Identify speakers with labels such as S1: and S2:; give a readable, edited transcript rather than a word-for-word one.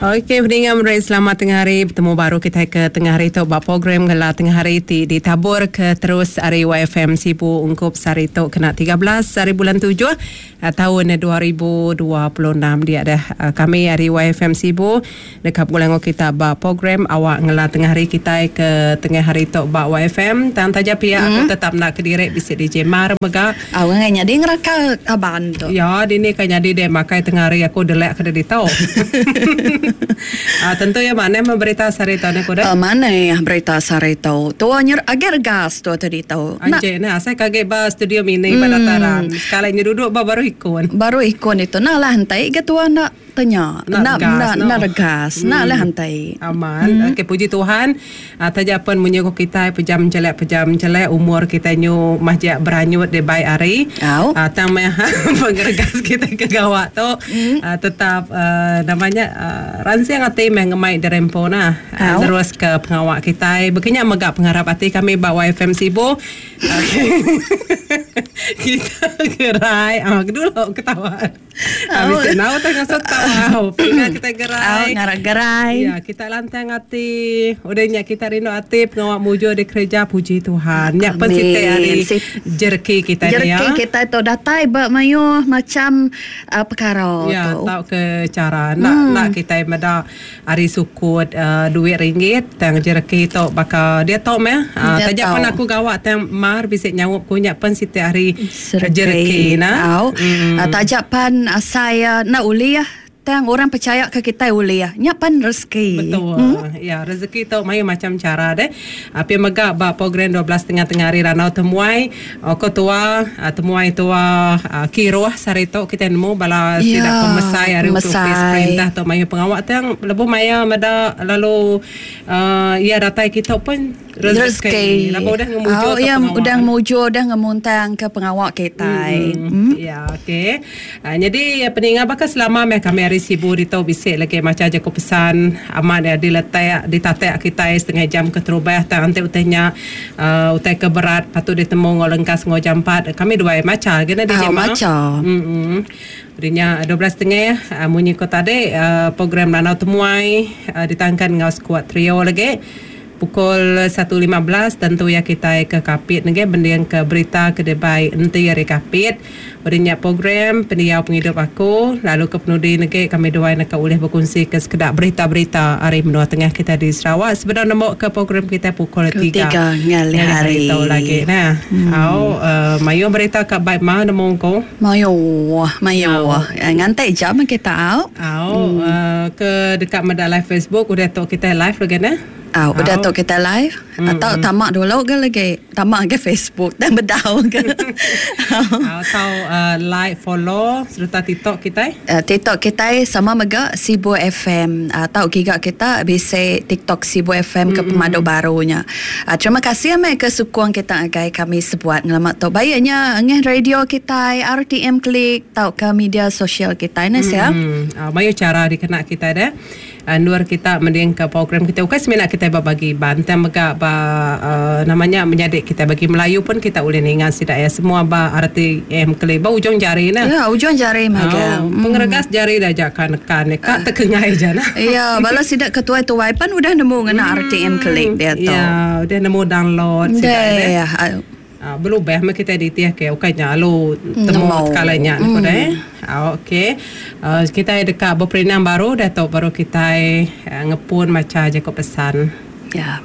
S1: Okey peninga meri selamat tengah hari betemu baru kitai ke tengah hari tu ba program ngela tengah hari ti ditabur ke terus ari YFM Sibu ungkup sehari tu kena 13 hari bulan tujuh taun 2026 dia deh kami ari YFM Sibu deka begulai enggau kita ba program awak ngela tengah hari kitai ke tengah hari tu ba YFM tang taja pia aku tetap enda kediri bisi DJ Mar mega.
S2: Au ngai nyadi ngeraka kaban tu.
S1: Ya dini ka nyadi deh makai tengah hari aku delek ke ditu. Ah tentu iya manah meh berita sehari tu neh ku deh.
S2: Manah berita sehari tu. Tua nyer agi regas tua tu ditu.
S1: Anjik neh asai ke agi ba studio mini ba dataran. Sekali nya duduk ba baruh ikon.
S2: Baruh ikon ditu. Enda lah entai ga tua enda. Tanya,
S1: Enda
S2: enda
S1: regas
S2: enda
S1: no.
S2: enda regas, enda lah antai.
S1: Amat. Okey puji Tuhan taja pen munyi ku kitai pejam jelek pejam jelek umur kitai nyu majak beranyut deh bai hari.
S2: Au.
S1: Tang meh pengeregas kitai ke gawa tu tetap nama nya ransing ati meh ngemai diri empu nah. Nerus ke pengawa kitai. Baka nya mega pengarap ati kami ba YFM Sibu. Kita gerai. Dulu ketawa. Habis nau tang ngasuh tau. Pinga kita gerai.
S2: Au ngarak gerai.
S1: Ya, kita lantang ati. Udah nya kita rindu ati pengawa mujur di kereja puji Tuhan. Nya pen siti ari jereki kita
S2: ni ya. Jereki kita tu datai ba mayuh macam uh, perkara
S1: ya,
S2: tu.
S1: Ya, tau ke cara nak hmm. nak kita meda ari sukut uh, duit ringgit tang jereki tu baka dia tu meh. Uh, taja pun aku gawa tang mar bisi nyaup ku nya pen siti ari Jereki
S2: nah. Au. Mm. Taja pan asai enda ulih tang orang pechaya ke kitai ulih. Nya pan rezeki.
S1: Betul. Mm. Ya, rezeki tu mayuh macam cara deh. Pia mega ba program 12 tengah tengah hari randau temuai ko tua temuai tua kiruh sehari tu kitai nemu bala sida ya, pemesai ari ofis perintah tu mayuh pengawa tang lebuh maya meda lalu uh, iya datai kitu pun
S2: Rezeki.
S1: Lapa udah ngemujur
S2: oh,
S1: ke
S2: ya,
S1: pengawa.
S2: Udah ngemujur, udah ngemuntang ke pengawa kitai.
S1: Mm. Mm. Ya, okey. Uh, jadi peninga baka selama meh kami hari Sibu ditu bisi lagi macha jaku pesan amat ya diletak ditatak kitai setengah jam ke terubah tang enti utai nya uh, utai ke berat patut ditemu enggau lengkas enggau jampat kami duai macha lagi nah
S2: DJ
S1: Ma.
S2: Macha.
S1: Mm. Udah nya 12 setengah uh, munyi ko tadi uh, program Lanau Temuai uh, ditangkan enggau skuad trio lagi. Pukul 1:15 tentu iya kitai ke Kapit nengah bending ke berita ke dibai enti ari Kapit. Udah nya program Pendiau Pengidup Aku lalu ke penudi negi kami duai neka ulih bekunsi ke sekeda berita-berita ari menua tengah kitai di Sarawak sebedau nembu ke program kitai pukul
S2: 3
S1: ngalih hari tu lagi nah. Au mayuh berita ka bai ma nemu ku.
S2: Mayuh mayuh nganti jam kita au.
S1: Au ke deka meda live Facebook udah tu kitai live lagi nah.
S2: Au udah tu kitai live atau tama dulu ga lagi tama ga Facebook tang bedau ga.
S1: Au tau like follow sereta TikTok kitai.
S2: TikTok kitai sama mega Sibu FM tau giga kita bisi TikTok Sibu FM ke pemadu baru nya. Terima kasih meh ke sukung kita ngagai kami sebuat ngelama tu. Baik nya ngeh radio kitai RTM Click tauka media sosial kitai neh sia.
S1: Mayuh chara dikena kitai deh. Endur kita mendingka program kitai ukai semina kitai ba bagi Iban tang mega ba nama nya menyadi kitai bagi Melayu pun kita ulih ninga sida iya semua ba RTM keli ba ujung jari neh.
S2: Ya ujung jari magang.
S1: Pengeregas jari ida aja ka nekan ka tekengai aja neh.
S2: Ya bala sida ke tuai-tuai pan udah nemu ngena RTM keli diatu.
S1: Ya udah nemu download sida iya deh. Belubah meh kitai ditih ke ukai nya alu temu tekala nya ne ku deh. Okey. Kitai deka beperindang baru dah tu baru kitai ngepun macha jaku pesan.
S2: Ya.